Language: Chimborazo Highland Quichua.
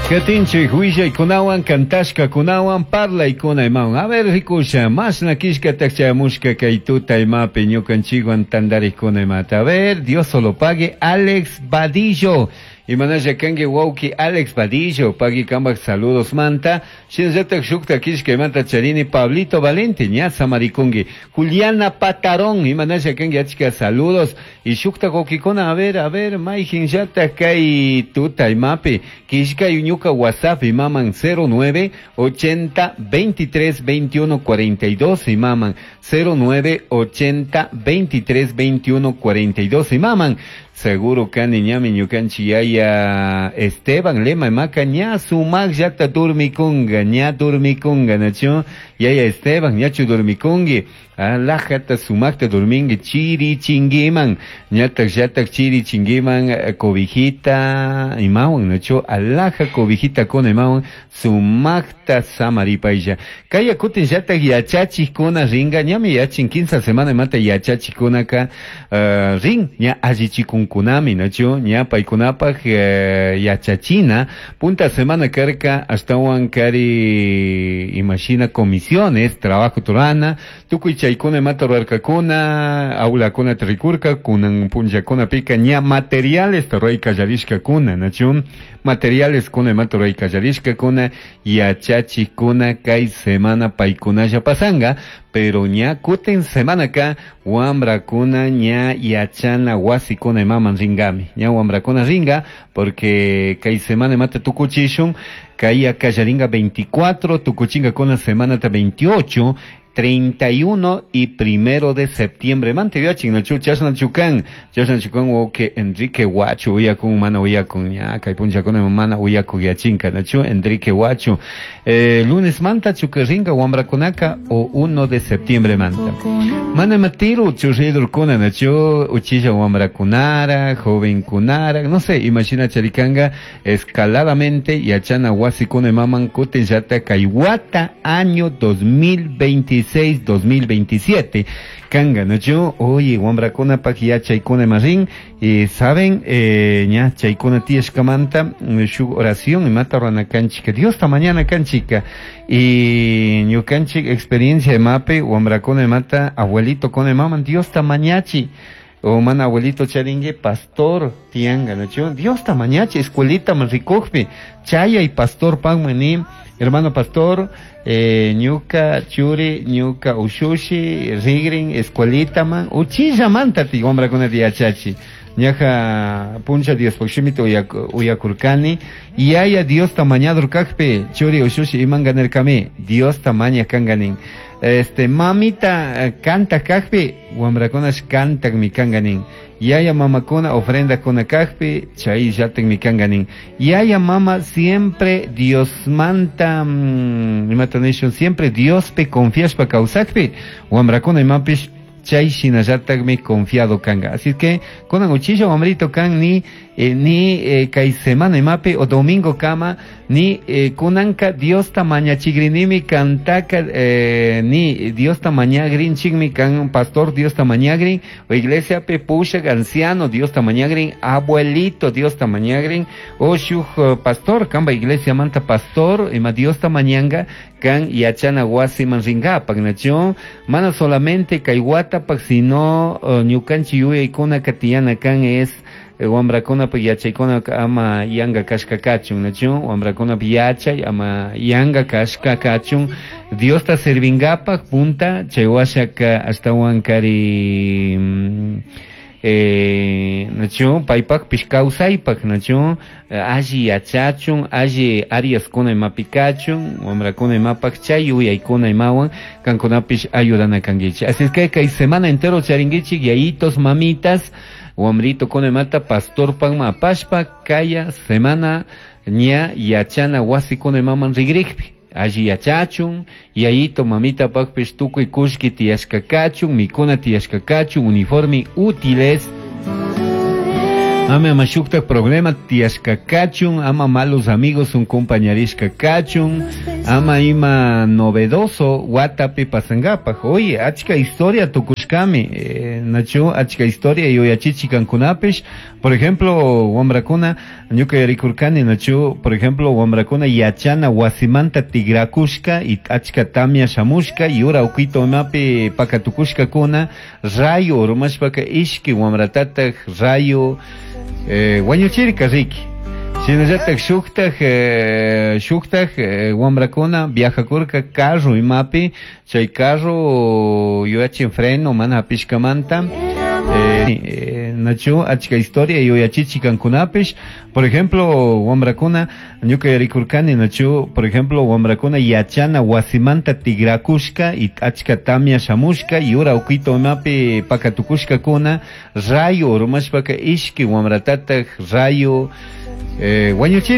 Katinchik willaykunawan kantashkakunawan parlaykuna imawan. A ver rikusha, mashna killkatak chayamushka kay tuta imapi ñukanchikwan tantarikkuna imata. A ver, Dios solo pague, Alex Vadillo. Imanalla kanki wawki Alex Vadillo, pagui kambak saludos manta. Shinallatak shukta killkaymanta charini Pablito Valente, ña samarikunki. Juliana Patarón, imanalla kanki achka saludos. Y shukta wawkikuna, a ver, mayjinllatak kay tuta imapi. Killkay ñuka WhatsApp imaman 09 80 23 21 42 imaman 09 80 23 21 42 imaman. Seguro kani ñami ñukanchik yaya Esteban Lema imaka ña sumakllata durmikunga, ña durmikunga, nachu? Yaya Esteban, ñachu durmikungi? Alajata sumakta durmingi chiri chinguiman, ñatak llatak chiri chinguiman, cobijita imawan, nachu? Alaja cobijita con imawan, sumakta samaripaylla. Kaya kutin llatak yachachikuna ringa, ñami yachin 15 semana imata yachachikunaka, rin, ña allichikunkunami, nachu? Ña paykunapak, yachachina, punta semana karka, ashtawan kari imashina comisiones, trabajo turana, tukuy chaykuna imata rurarkakuna, aulakuna rikurka, kunan punllakuna pika, ña materiales ruray kallarishkakuna, nachu? Materiales kuna imata ruray kallarishkakuna, yachachikuna kay semana paykunalla pasanga, pero ña kutin semanaka wambrakuna ña yachana wasikuna imaman ringami, ña wambrakuna ringa, porque kay semana imata tukuchishun, kay kallaringa 24, tukuchinga kuna semana ta 28, 31 y 1 de septiembre. Mante viachin, no chu, chasna chukan, chasna chukan, o que Enrique Guacho, uya con mana, uya con ña, kay puncha con mana, uya con yachinka, no chu, Enrique Guacho. Lunes manta chukerringa, wambrakunaka, o 1 de septiembre manta. Mana matiru, churridur kuna, no chu, uchilla wambrakunara, joven kunara, no sé, imagina charicanga, escaladamente, yachana wasikuna maman, kuten yata, kaiwata, año 2026. 2027. Kanga, ¿no? Yo, oye, wambrakuna pak ya chaykuna marin, y saben, ña chaykuna tiyashkamanta, shuk oración, y mata rana kanchika, Dios ta mañana kanchika, y ñukanchik experiencia de mape, wambrakuna mata, abuelito con maman, Dios ta mañachi, o mana abuelito charingue, pastor tianga, ¿no? Yo, Dios ta mañachi, escuelita manrikujpi, chaya y pastor pan maní, hermano pastor, ñuka, churi, ñuka, ushushi, rigrin, escuelita man, uchilla manta ti, hombre con el yachachi. Ñaja, puncha Dios, poximito uyakurkani, y haya Dios tamañador kakpe, churi, ushushi, imanganer kami, Dios tamaña kanganin. Este, mamita, canta kakpe, wambrakunas cantak mi kanganin. Yaya mamakuna ofrenda kuna kakpi, chay yatek mi kanganin. Yaya mama siempre Dios manta, imatonation, siempre Dios pe confias pa kausakpi, wambrakuna imapish, chay shinallatak mi confiado kanga. Así que, kunan uchilla wambrito kan ni, ni, kay semana imapi o domingo kama, ni, kunanka Dios tamaña chigrinimi kantaka, ni Dios tamañagrin chigmi kan pastor Dios tamañagrin, o iglesia pe pushak anciano Dios tamañagrin, abuelito Dios tamañagrin, o shuj, pastor, kamba iglesia manta pastor, ima Dios tamañanga, kan yachana wasi manringa, pagnacho, mana solamente kay wata pak sino, ñukanchi yuyaykuna katiyana kan es, wambrakuna pa yachaykuna ama yanga kashka kachun, nachu? Wambrakuna pa yachay ama yanga kashka kachun, Dios ta servingapak punta, chay washaka ashtawan kari, nachu? Paypak pish kawsaypak, nachu? Alli yachachun, alli ariaskuna imapi kachun, wambrakuna imapak chay yuyaykuna imawan, kankunapish ayudana kankichik. Así es que kay semana entero charinkichik, yayitos, mamitas, wambrito con mata, pastor panma apashpa, kaya semana ña yachana wasi con maman rigrikpi. Allí yachachun, yayito mamita pakpish tukuy kushki tiyashka kachun, mikuna tiyashka kachun, uniforme útiles. Ama ama shuktak problema tiyashka kachun, ama malos amigos un compañerishka kachun, Ama ima novedoso watapi pasangapaj. Oye, achka historia tukushkami, nachu achka historia yuyachichi kankunapish. Por ejemplo, wamrakuna ñuka yarikurkani, nachu, por ejemplo, wamrakuna yachana wasimanta tigrakushka y achka tamia shamushka yura ukito imapi pakatukushkakuna rayo urmashpaka ishki wamratataj rayo wañuchirka riki. Shinallatak shuktaj wamrakuna viajakurka carro imapi, chay carro yuyachin freno mana hapishkamanta. Nachu achka historia yuyachichi kankunapish. Por ejemplo, wamrakuna ñuka yarikurkani, nachu, por ejemplo, wamrakuna yachana wasimanta tigrakushka y achka tamia shamushka yura ukito imapi pakatukushkakuna rayo urmashpaka ishki wamratataj rayo wañuchirka.